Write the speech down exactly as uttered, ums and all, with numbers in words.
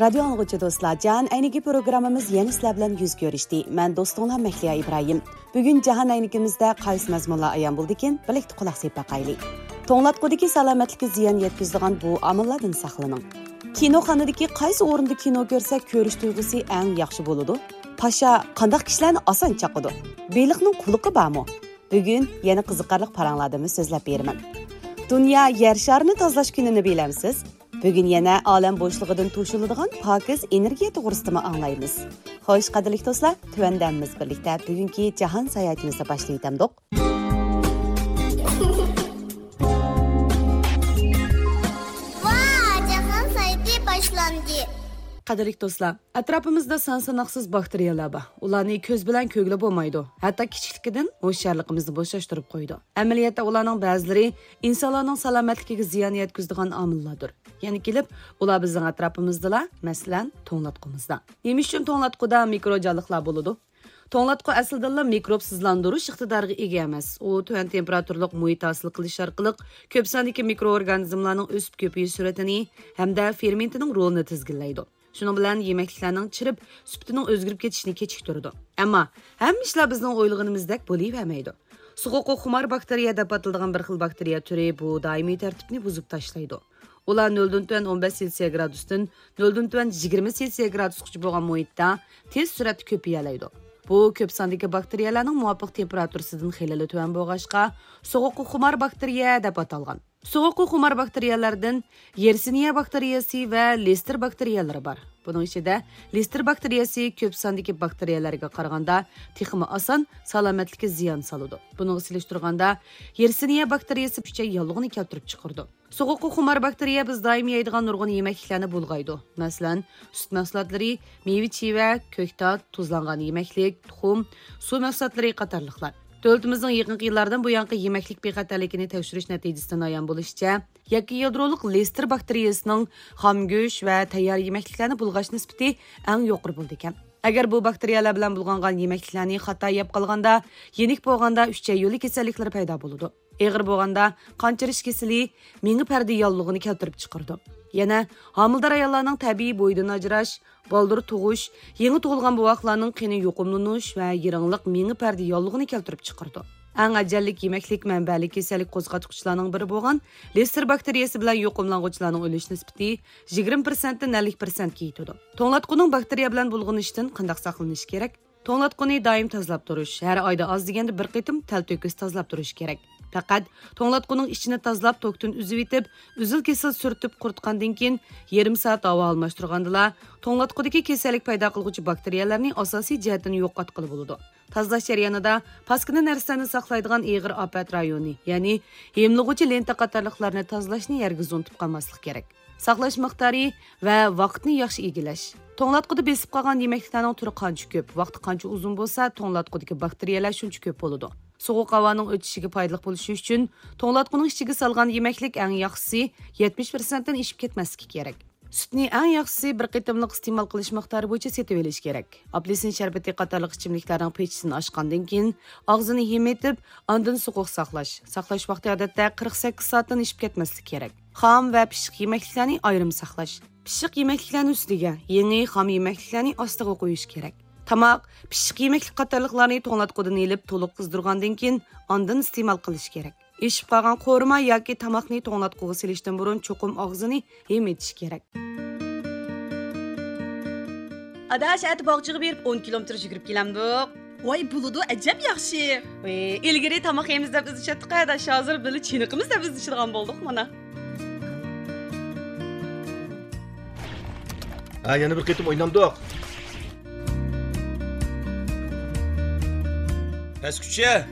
رادىيو ئاڭلىغۇچى دوستلار، جاھان ئەينىكى پروگراممىمىز يەنە سىلەر بىلەن يۈز كۆرۈشتى. مەن دوستۇڭلار مەھلىيا ئىبراھىم. بۈگۈن جاھان ئەينىكىمىزدە قايسى مەزمۇنلار ئايان بولدىكىن، بىرلىكتە قۇلاق سېلىپ باقايلى. توڭلاتقۇدىكى سالامەتلىككە زىيان يەتكۈزىدىغان بۇ ئامىللاردىن ساقلىنىڭ. كىنوخانىدىكى قايسى ئورۇندا كىنو كۆرسە كۆرۈش تۇيغۇسى ئەڭ ياخشى بولىدۇ؟ پاشا قانداق كىشىلەرنى ئاسان چاقىدۇ؟ بېلىقنىڭ قۇلىقى بارمۇ؟ بۈگۈن يەنە قىزىقارلىق پاراڭلاردىنمۇ سۆزلەپ بېرىمەن. دۇنيا يەر شارىنى تازىلاش كۈنىنى بىلەمسىز؟ بۈگۈن يەنە ئالەم بوشلۇقىدىن توشۇلىدىغان پاكىز ئېنېرگىيە توغرىسىدىمۇ ئاڭلايمىز. خوش، قەدىرلىك دوستلار، تۆۋەندە ھەممىمىز بىرلىكتە بۈگۈنكى جاھان ساياھىتىمىزنى باشلىۋېتەمدۇق؟ ۋا، جاھان ساياھىتى باشلاندى. قەدىرلىك دوستلار، ئەتراپىمىزدا سان ساناقسىز باكتېرىيەلەر بار. ئۇلارنى كۆز بىلەن كۆرگىلى بولمايدۇ. ھەتتا كىچىكلىكىدىن ھوشيارلىقىمىزنى بوشاشتۇرۇپ قويىدۇ. ئەمەلىيەتتە ئۇلارنىڭ بەزىلىرى ئىنسانلارنىڭ سالامەتلىكىگە زىيان يەتكۈزىدىغان ئامىللاردۇر. يەنە كېلىپ، ئۇلار بىزنىڭ ئەتراپىمىزدىلا، مەسىلەن، توڭلاتقۇمىزدا. نېمە ئۈچۈن توڭلاتقۇدا مىكرو جانلىقلار بولىدۇ؟ توڭلاتقۇ ئەسلىدىنلا مىكروبسىزلاندۇرۇش ئىقتىدارىغا ئىگە ئەمەس. ئۇ تۆۋەن تېمپېراتۇرىلىق مۇھىت ھاسىل قىلىش ئارقىلىق كۆپ ساندىكى مىكرو ئورگانىزملارنىڭ ئۆسۈپ كۆپىيىش سۈرئىتىنى ھەمدە فېرمېنتىنىڭ رولىنى تىزگىنلەيدۇ. شۇنىڭ بىلەن يېمەكلىكلەرنىڭ چىرىپ، سۈپىتىنىڭ ئۆزگىرىپ كېتىشىنى كېچىكتۈرىدۇ. ئەمما ھەممە ئىشلار بىزنىڭ ئويلىغىنىمىزدەك بولۇۋەرمەيدۇ. سوغۇققا خۇمار باكتېرىيە دەپ ئاتىلىدىغان بىر خىل باكتېرىيە تۈرى بۇ دائىمىي تەرتىپنى بۇزۇپ تاشلايدۇ. ئۇلار نۆلدىن تۆۋەن ئون بەش سېلسىيە گرادۇستىن نۆلدىن تۆۋەن يىگىرمە سېلسىيە گرادۇسقىچە بولغان مۇھىتتا تېز سۈرئەتتە كۆپىيەلەيدۇ. بۇ كۆپ ساندىكى باكتېرىيەلەرنىڭ مۇۋاپىق تېمپېراتۇرىسىدىن خېلىلا تۆۋەن بولغاچقا، سوغۇققا خۇمار باكتېرىيە دەپ ئاتالغان. سوغۇققا خۇمار باكتېرىيەلەردىن يېرسىنىيە باكتېرىيەسى ۋە لېستېر باكتېرىيەلىرى بار. بۇنىڭ ئىچىدە لېستېر باكتېرىيەسى كۆپ ساندىكى باكتېرىيەلەرگە قارىغاندا تېخىمۇ ئاسان سالامەتلىككە زىيان سالىدۇ. بۇنىڭغا سېلىشتۇرغاندا، يېرسىنىيە باكتېرىيەسى ئۈچەي ياللۇغىنى كەلتۈرۈپ چىقىرىدۇ. سوغۇققا خۇمار باكتېرىيە بىز دائىم يەيدىغان نۇرغۇن يېمەكلىكلەرنى بۇلغايدۇ. مەسىلەن، سۈت مەھسۇلاتلىرى، مېۋە-چىۋە، كۆكتات، تۇزلانغان يېمەكلىك، تۇخۇم، سۇ مەھسۇلاتلىرى قاتارلىقلار. دۆلىتىمىزنىڭ يېقىنقى يىللاردىن بۇيانقى يېمەكلىك بىخەتەرلىكىنى تەكشۈرۈش نەتىجىسىدىن ئايان بولۇشىچە، يەككە يادرولۇق لېستېر باكتېرىيەسىنىڭ خام گۆش ۋە تەييار يېمەكلىكلەرنى بۇلغاش نىسبىتى ئەڭ يۇقىرى بولىدىكەن. ئەگەر بۇ باكتېرىيەلەر بىلەن بۇلغانغان يېمەكلىكلەرنى خاتا يەپ قالغاندا، يېنىك بولغاندا ئۈچەي يولى كېسەللىكلىرى پەيدا بولىدۇ. ئېغىر بولغاندا قان چىرىش كېسىلى، مېڭە پەردە ياللۇغىنى كەلتۈرۈپ چىقىرىدۇ. يەنە ھامىلىدار ئاياللارنىڭ تەبىئىي بويىدىن ئاجراش، بالدۇر تۇغۇش، يېڭى تۇغۇلغان بوۋاقلارنىڭ قېنى يۇقۇملىنىش ۋە يىرىڭلىق مېڭە پەردە ياللۇغىنى كەلتۈرۈپ چىقىرىدۇ. ئەڭ ئەجەللىك يېمەكلىك مەنبەلىك كېسەللىك قوزغاتقۇچىلارنىڭ بىرى بولغان لېستېر باكتېرىيەسى بىلەن يۇقۇملانغۇچىلارنىڭ ئۆلۈش نىسبىتى يىگىرمە پىرسەنتتىن ئەللىك پىرسەنتكە يېتىدۇ. توڭلاتقۇنىڭ باكتېرىيە بىلەن بۇلغىنىشىدىن قانداق ساقلىنىش كېرەك؟ توڭلاتقۇنى دائىم تازىلاپ تۇرۇش، ھەر ئايدا ئاز دېگەندە بىر قېتىم تەلتۆكۈس تازىلاپ تۇرۇش كېرەك. پەقەت توڭلاتقۇنىڭ ئىچىنى تازىلاپ، توكتىن ئۈزۈۋېتىپ، ئۈزۈل-كېسىل سۈرتۈپ قۇرۇتقاندىن كېيىن، يېرىم سائەت ھاۋا ئالماشتۇرغاندىلا، توڭلاتقۇدىكى كېسەللىك پەيدا قىلغۇچى باكتېرىيەلەرنى ئاساسىي جەھەتتىن يوقاتقىلى بولىدۇ. تازىلاش جەريانىدا پاسكىنا نەرسىلەرنى ساقلايدىغان ئېغىر ئاپەت رايونى، يەنى ھىملىغۇچى لېنتا قاتارلىقلارنى تازىلاشنى ھەرگىز ئۇنتۇپ قالماسلىق كېرەك. ساقلاش مىقدارى ۋە ۋاقىتنى ياخشى ئىگىلەش. توڭلاتقۇدا بېسىپ قالغان يېمەكلىكلەرنىڭ تۈرى قانچە كۆپ، ۋاقتى قانچە ئۇزۇن بولسا، توڭلاتقۇدىكى باكتېرىيەلەر شۇنچە كۆپ بولىدۇ. سوغۇق ھاۋانىڭ ئۆتۈشىگە پايدىلىق بولۇشى ئۈچۈن، توڭلاتقۇنىڭ ئىچىگە سالغان يېمەكلىك ئەڭ ياخشىسى يەتمىش پىرسەنتتىن ئېشىپ كەتمەسلىكى كېرەك. سۈتنى ئەڭ ياخشىسى بىر قېتىملىق ئىستېمال قىلىش مىقدارى بويىچە سېتىۋېلىش كېرەك. ئاپېلسىن شەربىتى قاتارلىق ئىچىملىكلەرنىڭ پېچىسىنى ئاچقاندىن كېيىن، ئاغزىنى ھىم ئېتىپ، ئاندىن سوغۇق ساقلاش. ساقلاش ۋاقتى ئادەتتە قىرىق سەككىز سائەتتىن ئېشىپ كەتمەسلىكى كېرەك. خام ۋە پىششىق يېمەكلىكلەرنى ئايرىم ساقلاش. پىششىق يېمەكلىكلەرنى ئۈستىگە، يېڭى خام يېمەكلىكلەرنى ئاستىغا قويۇش كېرەك. تاماق، پىششىق يېمەكلىك قاتارلىقلارنى توڭلاتقۇدىن ئېلىپ، تولۇق قىزدۇرغاندىن كېيىن، ئاندىن ئىستېمال قىلىش كېرەك. ئېشىپ قالغان قورۇما ياكى تاماقنى توڭلاتقۇغا سېلىشتىن بۇرۇن چوقۇم ئاغزىنى ھىم ئېتىش كېرەك. ئاداش، ئەتە باغچىغا بېرىپ ئون كىلومېتىر يۈگۈرۈپ كېلەمدۇق. ۋاي، بولىدۇ، ئەجەب ياخشى. ۋەي، ئىلگىرى تاماق يەيمىز دەپ ئىزدىشەتتۇق، ئاداش، ھازىر بىللە چېنىقىمىز دەپ ئىزدىشىدىغان بولدۇق مانا. ھە، يەنە بىر قېتىم ئوينامدۇق. پەسكۈچە.